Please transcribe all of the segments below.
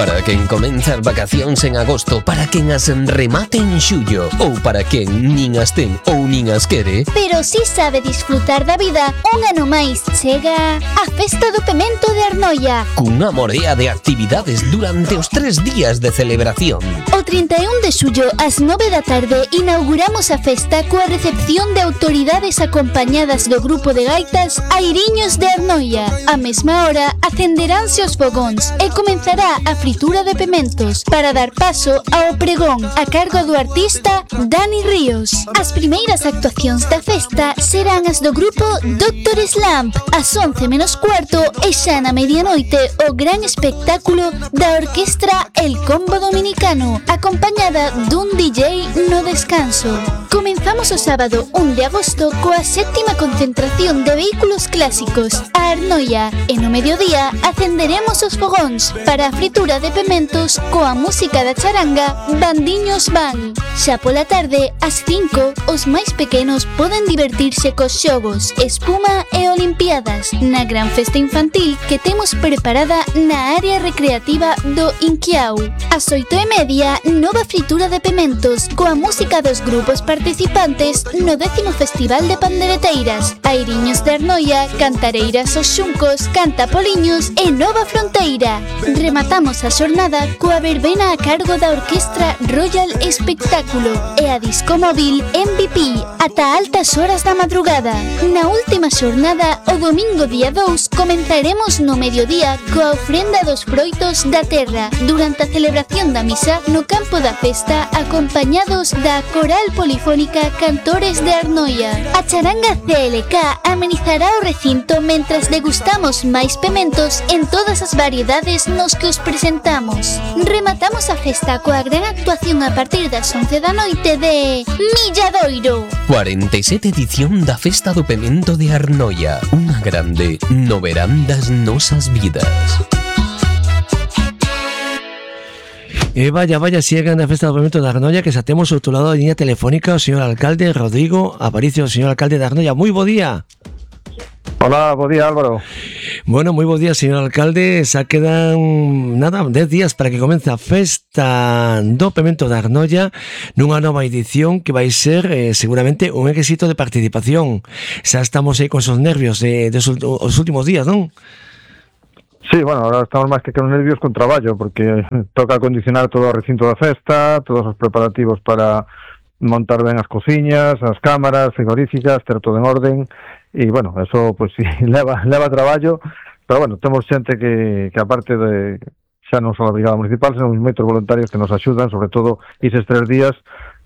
Para quen comeza as vacacións en agosto, para quen as remate en xullo, ou para quen nin as ten ou nin as quere, pero si sabe disfrutar da vida, un ano máis chega a Festa do Pemento de Arnoia, cunha morea de actividades durante os 3 días de celebración. O 31 de xullo ás 9 da tarde inauguramos a festa coa recepción de autoridades acompañadas do grupo de gaitas Airiños de Arnoia. A mesma hora acenderánse os fogóns e comenzará a fritura de pementos para dar paso ao pregón a cargo do artista Dani Ríos. As primeiras actuacións da festa serán as do grupo Dr. Slump ás 11 menos cuarto e xa na medianoite o gran espectáculo da orquestra El Combo Dominicano acompañada dun DJ no descanso. Comenzamos o sábado 1 de agosto coa 7ª concentración de vehículos clásicos a Arnoia e no mediodía acenderemos os fogóns para a fritura de pementos coa música da charanga Bandiños Van. Xa pola tarde, ás 5, os máis pequenos poden divertirse cos xogos, espuma e olimpiadas na gran festa infantil que temos preparada na área recreativa do Inquiau. Ás 8:30, nova fritura de pementos coa música dos grupos participantes no 10º Festival de Pandereteiras, Airiños de Arnoia, Cantareiras os Xuncos, Cantapoliños e Nova Fronteira. Rematamos a xornada coa verbena a cargo da Orquestra Royal Espectáculo e a disco móvil MVP ata altas horas da madrugada. Na última xornada, o domingo día 2, comenzaremos no mediodía coa ofrenda dos froitos da terra durante a celebración da misa no campo da festa acompañados da Coral Polifónica Cantores de Arnoia. A charanga CLK amenizará o recinto mentras degustamos máis pementos en todas as variedades nos que os presentamos. Rematamos a festa coa gran actuación a partir das 11 da noite de Milladoiro. 47 edición da Festa do Pemento de Arnoia, unha grande no verán das nosas vidas. E vaya, sigan a Festa do Pemento de Arnoia, que xa temos ao outro lado da liña telefónica o señor alcalde Rodrigo Aparicio. Señor alcalde de Arnoia, moi bo día. Hola, bo día Álvaro. Bueno, moi bo día, señor alcalde. Xa quedan, 10 días para que comece a Festa do Pemento de Arnoia nunha nova edición que vai ser seguramente un éxito de participación. Xa estamos aí con esos nervios os últimos días, non? Sí, bueno, ahora estamos máis que con nervios con traballo, porque toca acondicionar todo o recinto da festa, todos os preparativos para montar ben as cociñas, as cámaras frigoríficas, ter todo en orden, e, bueno, eso, pues, sí, leva traballo, pero, bueno, temos xente que aparte de, xa non só a Brigada Municipal, senón moitos voluntarios que nos axudan, sobre todo, eses 3 días,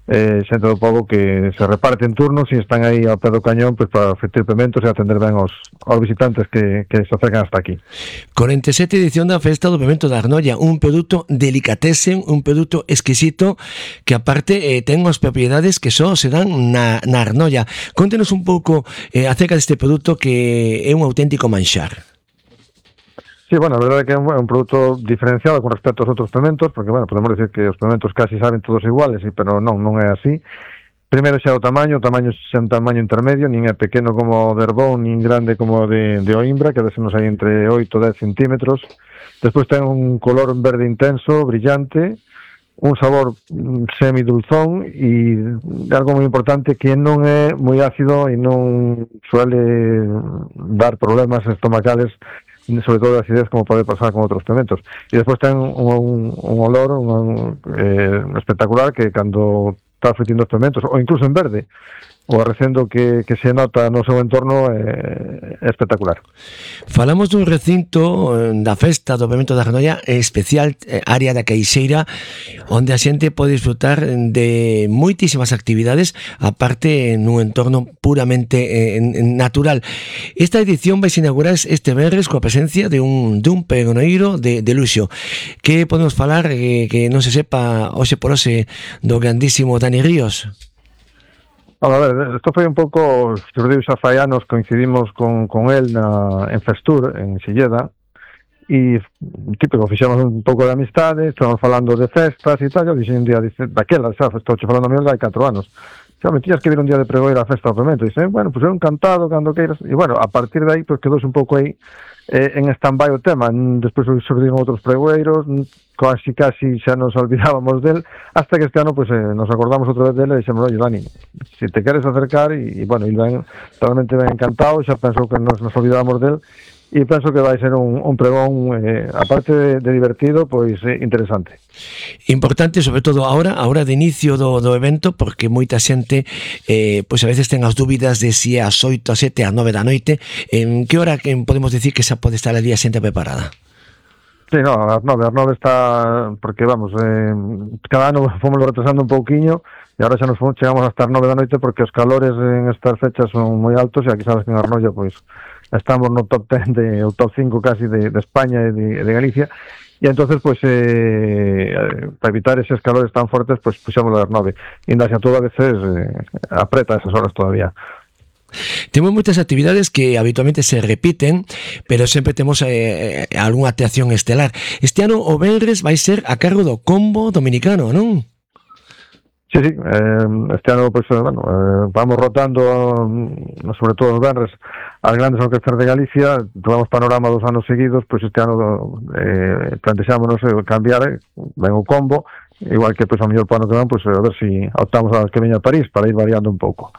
xente do pobo que se reparte en turnos e están aí ao pé do cañón pues, para fritir pementos e atender ben aos visitantes que se acercan hasta aquí. 47 edición da Festa do Pemento de Arnoia, un produto delicatessen, un produto exquisito que aparte ten as propiedades que só se dan na Arnoia. Contenos un pouco acerca deste produto que é un auténtico manxar. Sí, bueno, a verdade é que é un produto diferenciado con respecto aos outros pementos, porque, bueno, podemos decir que os pementos casi saben todos iguales, pero non é así. Primeiro xa o tamaño xa un tamaño intermedio, nin é pequeno como o de Herbón, nin grande como o de Oimbra, que nos hai entre 8 e 10 centímetros. Despois ten un color verde intenso, brillante, un sabor semidulzón e algo moi importante que non é moi ácido e non suele dar problemas estomacales, sobre todo de acidez, como pode pasar con outros pementos. E despois ten un olor espectacular que cando está fritindo os pementos, ou incluso en verde, o arrecendo que se nota no seu entorno é espectacular. Falamos dun recinto da Festa do Pemento de Arnoia especial, área da Queixeira, onde a xente pode disfrutar de moitísimas actividades, aparte nun entorno puramente natural. Esta edición vai se inaugurar este venres coa presencia de un pregoneiro de luxo. Que podemos falar que non se sepa hoxe por hoxe do grandísimo Dani Ríos? A ver, isto foi un pouco, xurdiu xa fai anos, coincidimos con el en Festur, en Silleda, e típico, fixemos un pouco de amistade, estamos falando de festas e tal, eu dixen un día, daquela, xa, estou falando a mí hai 4 anos, xa me tiñas que vir un día de pregoeira a festa do Pemento. E dixen, bueno, pues eu encantado, cando queiras. E bueno, a partir de aí, pues quedou un pouco aí en stand-by o tema. Despois surdiron outros pregoeiros, casi xa nos olvidábamos del, hasta que este ano pues nos acordamos outra vez dele e dixemos, oye, Dani, se te queres acercar, e bueno, il realmente ben encantado, xa pensou que nos olvidábamos del, e penso que vai ser un pregón, aparte de divertido, pois interesante. Importante, sobre todo ahora de inicio do evento, porque moita xente pois a veces ten as dúbidas de si é ás 8, ás 7, ás 9 da noite. En que hora podemos decir que xa pode estar a día xente preparada? Sí, no, ás 9 está, porque vamos, cada ano fomos retrasando un pouquiño, e agora xa nos chegamos hasta as 9 da noite, porque os calores en estas fechas son moi altos, e aquí sabes que en Arnoia, pois, estamos no top 10 o top 5 casi de España e de Galicia, e entonces pues para evitar esos calores tan fuertes, pues puxamos as 9, e ainda xa todo a veces apreta esas horas todavía. Temos moitas actividades que habitualmente se repiten, pero sempre temos algunha atracción estelar. Este ano o venres vai ser a cargo do Combo Dominicano, non? Sí, este ano pues, vamos rotando, sobre todo os venres, as grandes orquestas de Galicia. Tomamos panorama 2 anos seguidos, pues este ano plantexámonos cambiar, ven o Combo, igual que pues a mellor para o que van, pues a ver si optamos a que veña a París para ir variando un pouco.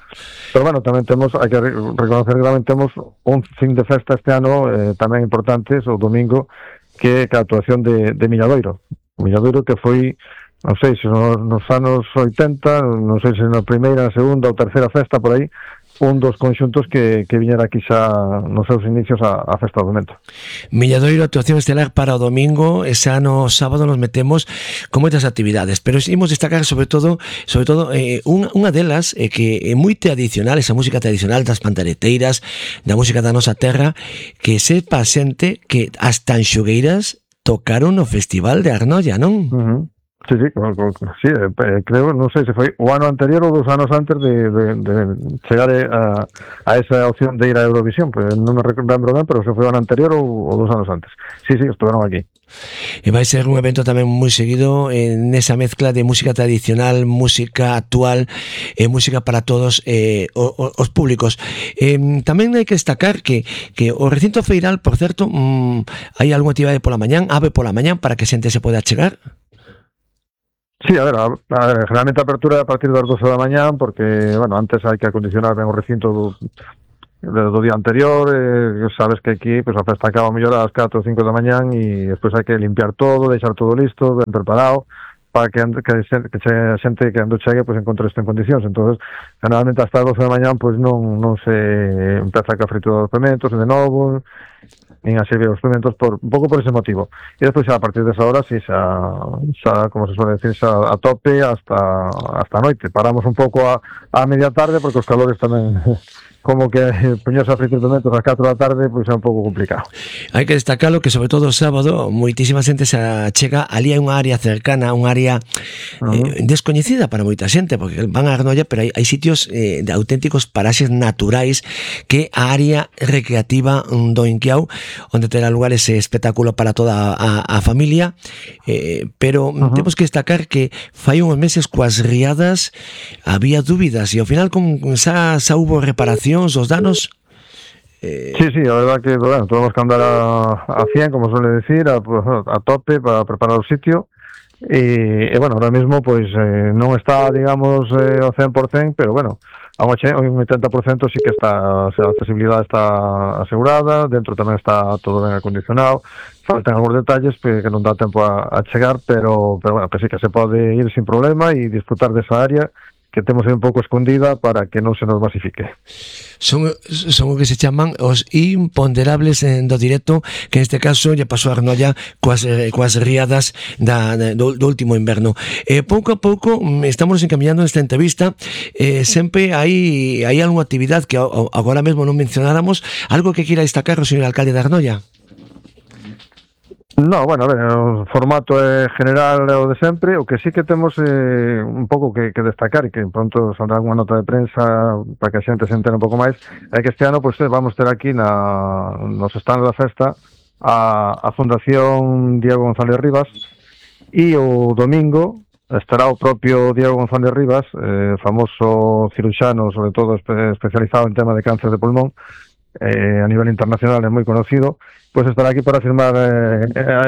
Pero bueno, tamén hai que reconocer que tamén temos un fin de festa este ano tamén importante, o domingo, que é a actuación de Milladoiro. O Milladoiro que foi, non sei se nos anos 80, non sei se na primeira, na segunda ou terceira festa por aí, un dos conxuntos que viñera aquí xa nos seus inicios a festa do Mento. Milladoiro, actuación estelar para o domingo, e xa no sábado nos metemos con moitas actividades, pero imos destacar sobre todo unha delas que é moi tradicional, esa música tradicional das pantareteiras, da música da nosa terra, que sepa xente que as tanxugueiras tocaron no Festival de Arnoia, non? Sí, creo, non sei se foi o ano anterior ou 2 anos antes de chegar a esa opción de ir a Eurovisión, pues non me lembro ben, pero se foi o ano anterior ou 2 anos antes. Sí, estuveron aquí. E vai ser un evento tamén moi seguido nesa mezcla de música tradicional, música actual e música para todos os públicos. Tamén hai que destacar que o recinto feiral, por certo, hai algunha actividade pola mañán, ave pola mañán, para que a xente se poda chegar? Sí, a ver, generalmente a apertura é a partir das 12 da mañán, porque, bueno, antes hai que acondicionar ben o recinto do día anterior, sabes que aquí pues, a festa acaba mellor ás 4 ou 5 da mañán, e despois hai que limpiar todo, deixar todo listo, ben preparado, para que a xente que ando chegue pues, encontre isto en condicións. Entonces, generalmente hasta as 12 da mañán pues, non se empeza a fritura dos pementos de novo, nin a servir os pementos un pouco por ese motivo. E despois a partir desa hora si xa como se suele decir, xa a tope hasta a noite. Paramos un pouco a media tarde, porque os calores tamén como que poñerse a fritir pementos ás 4 da tarde, pois é un pouco complicado. Hai que destacalo que sobre todo o sábado moitísima xente se chega ali, hai unha área cercana, unha área descoñecida para moita xente, porque van a Arnoia, pero hai sitios de auténticos paraxes naturais, que a área recreativa do Inquiao, onde terá lugar ese espectáculo para toda a familia, pero temos que destacar que fai uns meses coas riadas había dúbidas, e ao final xa hubo reparación os danos. Sí, a verdad que bueno, tuvimos que andar a 100, como suele decir, a tope para preparar o sitio, e bueno, ahora mismo pues non está, digamos, ao 100%, pero bueno, a un 80% sí que está, o sea, a accesibilidade está asegurada, dentro tamén está todo ben acondicionado, faltan algúns detalles que non dá tempo a chegar, pero bueno, que sí que se pode ir sin problema e disfrutar desa área que temos un pouco escondida para que non se nos masifique. Son o que se chaman os imponderables do directo, que neste caso lle pasou a Arnoia coas riadas do último inverno. Pouco a pouco estamos encaminhando nesta entrevista, sempre hai algunha actividade que agora mesmo non mencionáramos, algo que queira destacar o señor alcalde de Arnoia? No, bueno, a ver, o formato é general o de sempre. O que sí que temos un pouco que destacar, e que pronto saldrá unha nota de prensa para que a xente se entere un pouco máis, é que este ano pues, vamos ter aquí nos stands da festa a Fundación Diego González Rivas, e o domingo estará o propio Diego González Rivas, famoso ciruxano, sobre todo especializado en tema de cáncer de pulmón, a nivel internacional é moi conocido, pues estará aquí para firmar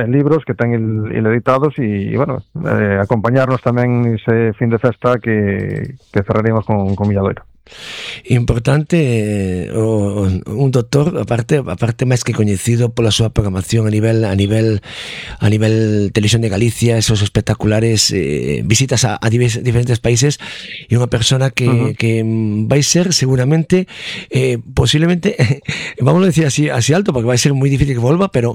libros que ten el editados y bueno, acompañarnos tamén ese fin de festa que cerraremos con Milladoiro. Importante, un doctor aparte máis que coñecido pola súa programación a nivel Televisión de Galicia, esos espectaculares visitas a diferentes países, e unha persona que vai ser seguramente posiblemente vamos a decir así alto, porque vai ser moi difícil que volva, pero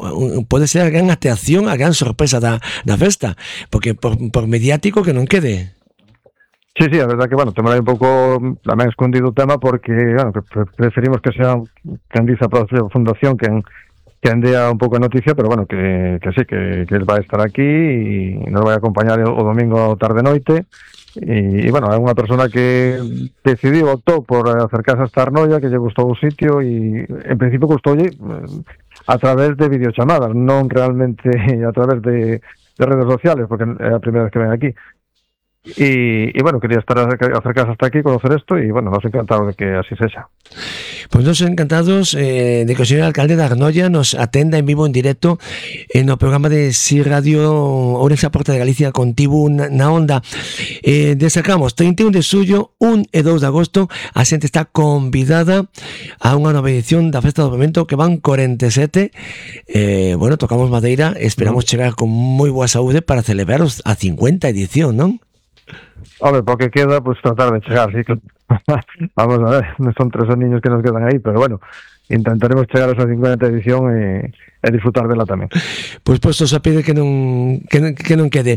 pode ser a gran atracción, a gran sorpresa da festa, porque por mediático que non quede. Sí, a verdad que, bueno, temos un pouco tamén escondido o tema porque, bueno, que preferimos que sea quen dice a propia fundación quen dea un pouco de noticia, pero bueno, que sí, que él vai estar aquí e nos vai acompañar o domingo tarde-noite e, bueno, é unha persona que decidiu, optou por acercarse a esta Arnoia, que lle gustou o sitio e, en principio, gustoulle a través de videochamadas, non realmente a través de redes sociales, porque é a primeira vez que ven aquí. Y bueno, quería acercarse hasta aquí, conocer esto y bueno, nos encantados de que así sea. Pues nos encantados de que el señor alcalde de Arnoia nos atenda en vivo, en directo en el programa de Si Radio Ourense a Porta de Galicia contigo na onda. Destacamos 31 de xullo, 1 e 2 de agosto a xente está convidada a unha nova edición da Festa do Pemento, que van 47. Bueno, tocamos madeira, esperamos chegar con moi boa saúde para celebrar a 50 edición, non? Hombre, porque queda, pues tratar de chegar, sí. Vamos a ver, son 3 niños que nos quedan aí, pero bueno, intentaremos chegar a esa 50 edición e disfrutar dela tamén. Pois postos a pide que non quede.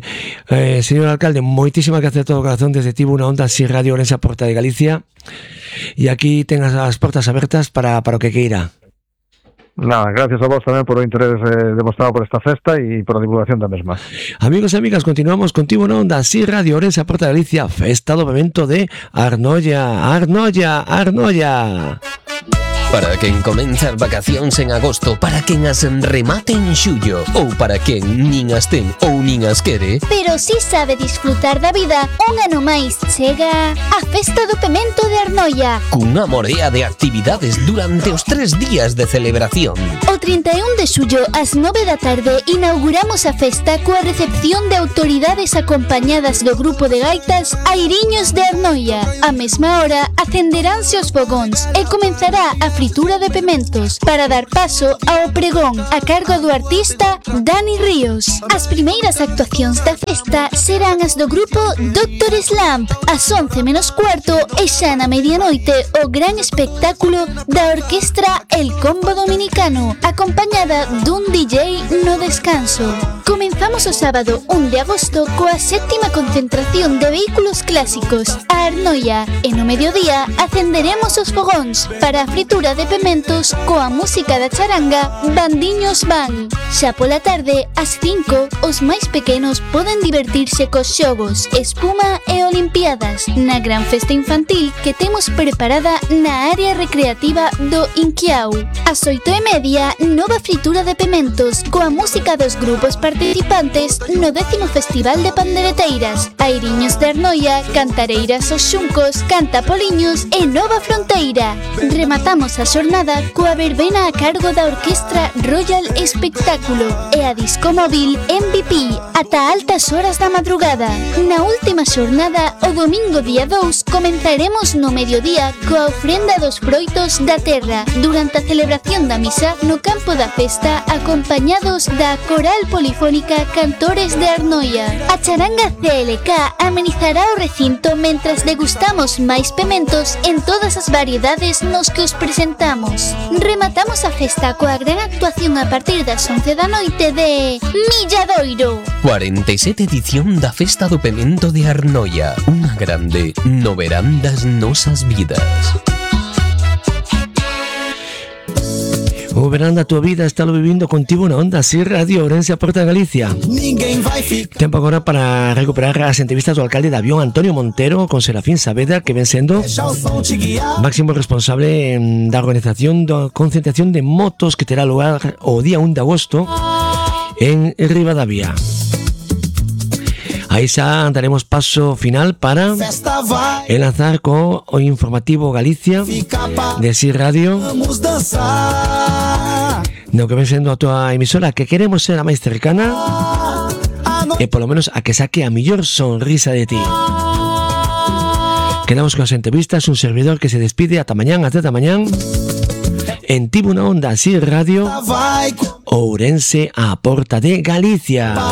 Señor alcalde, moitísimas gracias a todo o corazón desde Tibo na onda Si Radio Ourense a Porta de Galicia, e aquí ten as portas abertas para o que queira. Nada, gracias a vos tamén por o interés demostrado por esta festa e por a divulgación da mesma. Amigos e amigas, continuamos contigo na onda Si Radio Ourense a Porta de Galicia, Festa do Pemento de Arnoia. Para quen comeza as vacacións en agosto, para quen as remate en xullo, ou para quen nin as ten ou nin as quere, pero si sabe disfrutar da vida, un ano máis chega a Festa do Pemento de Arnoia, cunha morea de actividades durante os 3 días de celebración. O 31 de xullo ás 9 da tarde inauguramos a festa coa recepción de autoridades acompañadas do grupo de gaitas Airiños de Arnoia. A mesma hora acenderánse os fogóns e comenzará a fritura de pementos para dar paso ao pregón a cargo do artista Dani Ríos. As primeiras actuacións da festa serán as do grupo Dr. Slump ás 11:15 e xa na medianoite o gran espectáculo da orquestra El Combo Dominicano, acompañada dun DJ no descanso. Comenzamos o sábado 1 de agosto coa 7ª concentración de vehículos clásicos a Arnoia e no mediodía acenderemos os fogóns para a fritura de pementos coa música da charanga Bandiños Van. Xa pola tarde, ás 5, os máis pequenos poden divertirse cos xogos, espuma e olimpiadas na gran festa infantil que temos preparada na área recreativa do Inquiau. Ás 8:30, nova fritura de pementos coa música dos grupos participantes no 10º Festival de Pandereteiras, Airiños de Arnoia, Cantareiras os Xuncos, Cantapoliños e Nova Fronteira. Rematamos a xornada coa verbena a cargo da orquestra Royal Espectáculo e a disco móvil MVP ata altas horas da madrugada. Na última xornada, o domingo día 2, comenzaremos no mediodía coa ofrenda dos froitos da terra durante a celebración da misa no campo da festa, acompañados da Coral Polifónica Cantores de Arnoia. A charanga CLK amenizará o recinto mentras degustamos máis pementos en todas as variedades nos que os presentamos. Rematamos a festa coa gran actuación a partir das 11 da noite de Milladoiro. 47 edición da Festa do Pemento de Arnoia, unha grande no verán das nosas vidas. O verán da tua vida está lo vivindo contigo na onda Si Radio Ourense a Porta de Galicia. Tempo agora para recuperar as entrevistas do alcalde de Avión, Antonio Montero, con Serafín Saavedra, que ven sendo máximo responsable da organización da concentración de motos que terá lugar o día 1 de agosto en Ribadavia. Aí xa daremos paso final para enlazar co o informativo Galicia de Si Radio, no que ven sendo a tua emisora, que queremos ser a máis cercana e polo menos a que saque a mellor sonrisa de ti. Quedamos con as entrevistas, un servidor que se despide ata mañán, ata mañán en Tivo na Onda Si Radio, Ourense, a porta de Galicia.